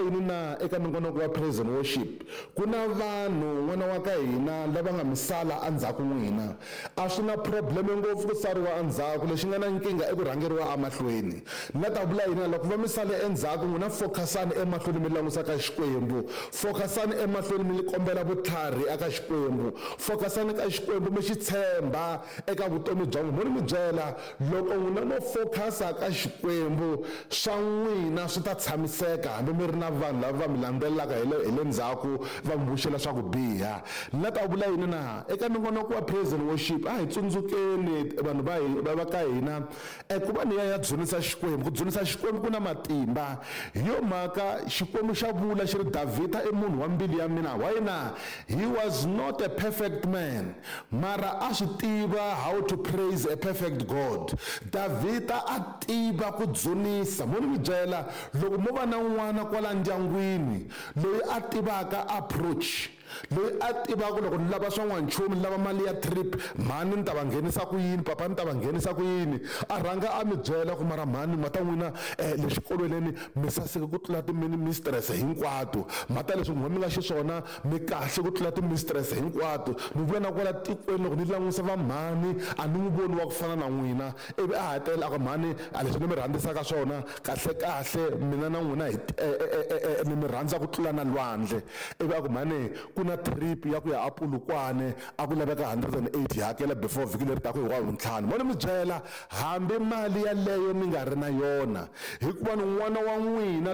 Yini na eka nongonoko wa praise and worship ku na vanhu n'wana wa ka hina lava nga misala endzhaku n'wina. A swi na probleme ngopfu ku sariwa endzhaku, lexi nga na nkingha i ku rhangeriwa emahlweni. Ni la ta vula yini? Loko va mi sale endzhaku, n'wina focusani emahlweni, mi langusa ka Xikwembu. Focusani emahlweni, mi kombela vutlhari eka Xikwembu. Focusani ka Xikwembu, mi xi tshemba eka vutomi bya n'wina. Mo ni mi byela, loko n'wina mo focusa ka Xikwembu, swa n'wina swi ta tshamiseka, hambi mi ri na vanhu lava va mi landzelelaka hi le ndzhaku, va mi vuxela swa ku biha. Ni la ta vula yini na eka nongonoko wa praise and worship? A hi tsundzukeni vanhu va va ka hina ku va ni ya dzunisa Xikwembu. Ku dzunisa Xikwembu ku na matimba. Hi yo mhaka Xikwembu xa vula xi ri, "Davhida i munhu wa mbilu ya mina." Why na? He was not a perfect man, mara a swi tiva how to praise a perfect God. Davhida a tiva ku dzunisa. Mo ni mi byela, loko mo va na n'wana kwala ndyangwini loyi a tivaka approach, loyi a tivaka loko ni lava swa n'wanchumu, ni lava mali ya trip, mhani ni ta va nghenisa ku yini, papa ni ta va nghenisa ku yini, a rhanga a mi byela ku mara mhani, mata n'wina le xikolweni mi saseke ku tlula ti-mistress hinkwato, mhata leswi n'we mi nga xiswona mi kahle ku tlula ti-mistress hinkwato, ni vula na kwala tikweni loko ni langusa vamhani a ni n'wi voni wa ku fana na n'wina, ivi a hetelela a ku, "Mhani, a leswi ni mi rhandzisaka swona kahle kahle, mina na n'wina hi ni mi rhandza ku tlula na lwandle," ivi a ku, "Mhani, ku na trip ya ku ya aPolokwane, a ku laveka 180, hakela before vhiki leri taka hi Wavuntlhanu." Mo ni mi byela, hambi mali yaleyo mi nga ri na yona, hikuva ni n'wana wa n'wina.